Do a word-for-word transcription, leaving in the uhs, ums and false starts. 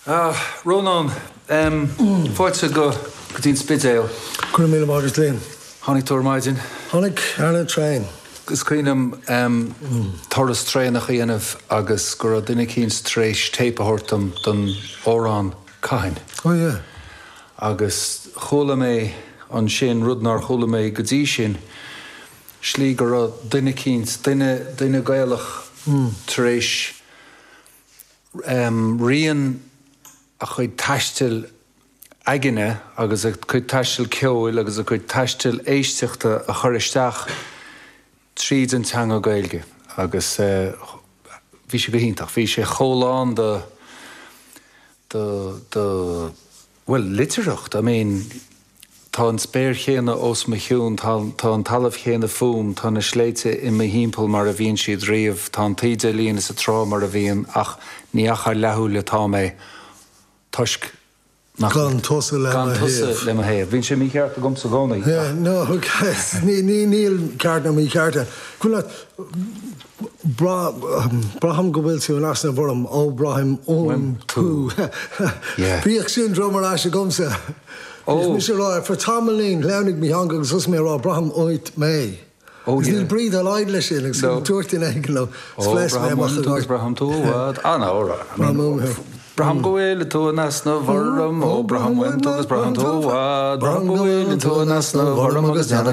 Ah, Rónán, um, fáilte go go dtí an Spidéal. Go raibh míle maith agat, Liam. Tháinig tú ar maidin. Tháinig ar an traein. Is cuimhin liom um, turas traenach a dhéanamh agus go raibh duine eicínt tar éis téip a thabhairt dom don amhrán "Cathain". Oh yeah. Agus chuala mé ansin rud nár chuala mé go dtí sin, slí go raibh duine eicínt, duine duine Gaelach tar éis um, rian a chuid taistil aigne agus a chuid taistil ceoil agus a chuid taistil éisteachta a chur isteach tríd an teanga Gaeilge agus uh, bhí sé go hiontach, bhí sé chomh lán de de de well litearthacht, I mean tá an spéir chéanna os mo chionn, tá tá an talamh chéanna fúm, tá na sléibhte i mo thimpeall mar a bhíonn siad riamh, tá an taoide líon is a trá mar a bhíonn ach ní ach leathshúil atá mé toisc nach Gan tusa le gan mo tusa thaobh. le mo thaobh. Bíonn sé mícheart agamsa i gcónaí. Yeah, no, okay. Ní ní níl ceart ná mícheart. Cúla braithim go bhfuil tú in easnamh orm ó braithim uaim tú. Yeah. Bhíodh sin drom ar ais agamsa. Ó. Mis rá for tamallín leannig mí hanga agus sus mé rá braithim uait mé. Oh, Agus yeah. níl brí dá laghad leis sin agus No. dúirt in ag lo Ó braithim braithim tú bhad ah no Braithim Braithim go bhfuil tú in easnamh orm ó braithim uaim tú agus braithim tú bhad Braithim go bhfuil tú in easnamh orm agus déana